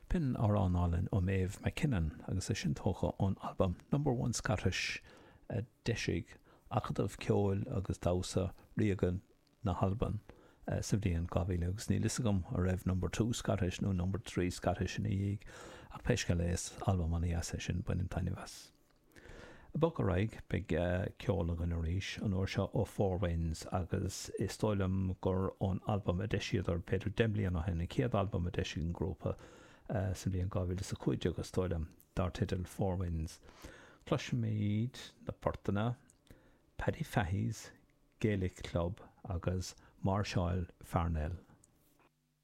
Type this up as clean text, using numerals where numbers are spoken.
B'in amhrán álainn ó Maeve MacKinnon agus é sin tógtha ón albam Number One Scottish a d'eisigh Acadamh Ceoil agus Damhsa Ríoga na hAlban sa bhliain 2000 agus níl fhios agam an raibh Number Two Scottish nó Number Three Scottish ina dhiaidh ach pé scéal é is albam an-dheas é sin, bainim taitneamh as. Ag bogadh ar aghaidh, beidh ceol againn arís, an uair seo ó Four Winds agus is dóigh liom gur ón albam a d'eisíodar b'fhéidir 10 mbliana ó shin, an chéad albam a d'eisigh an grúpa sa bhliain 2015 is dóigh liom, dar teideal Four Winds. Cloisfimid na portanna Paddy Fahy's Gaelic Club agus Máirseáil Pharnell.